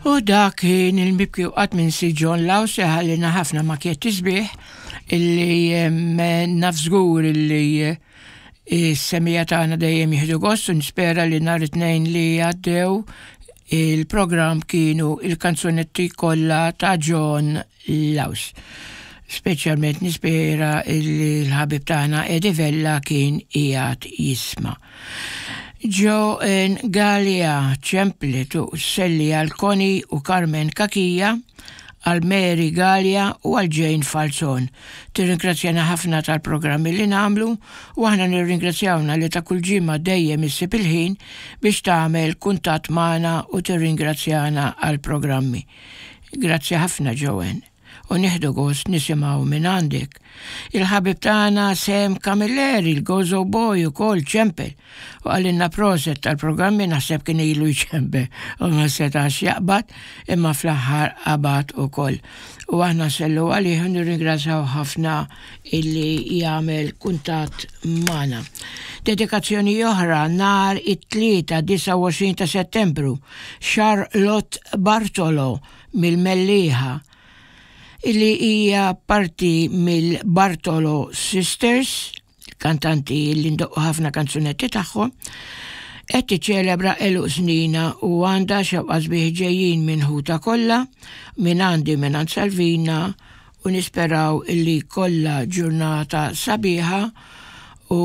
U dak kien il-mibki u qatt minsi John Laws li ħallina ħafna makjetti sbieħ illi naf żgur illi s-semija tagħna dejjem jieħdu gost u nispera li nhar it-tnejn li għaddew il-programm kienu il-kanzunetti kollha ta' John Laws. Speċjalment nispera li l-ħabib tagħna Eddie Vella kien qiegħed jisma'. Joan Galea ċemplet u sselli għal Connie u Carmen Cachia, għal Mary Galea u għal Jane Falzon. Tirringrazzjana ħafna tal-programmi li nagħmlu u aħna nirringrazzjawna li ta' kull ġimgħa dejjem issib il-ħin biex tagħmel kuntatt magħna u tirringrazzjana għall-programmi. Grazzi ħafna Joanne u nieħdu gost nisimgħu mingħandek. Il-ħabib tagħna Sam Camilleri, il-Gozo Boy ukoll ċempel u qalilna proset tal-programmi naħseb kien ilu jċempel u ma setax jaqbad imma fl-aħħar qabad ukoll. U aħna nsellu għalih u nirringrazzjaw ħafna illi jagħmel kuntatt magħna. Dedikazzjoni oħra nhar it-Tlieta 29 ta' Settembru Charlotte Bartolo mill-Mellieħa, li hija parti mill-Bartolo Sisters, kantanti li ndoqqu ħafna kanzunetti tagħhom, qed tiċċelebra għeluq snina u għandha xewqa sbieħ ġejjin minn ħutha kollha, minn għandi minn għand Salvina u nisperaw illi jkollha ġurnata sabiħa u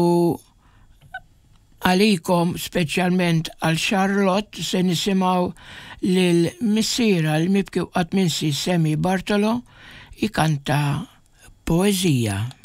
Għalikom, speċjalment għal Charlotte, se nisimgħu lil missierha l-mibki u qatt minsi Sammy Bartolo jkanta poeżija.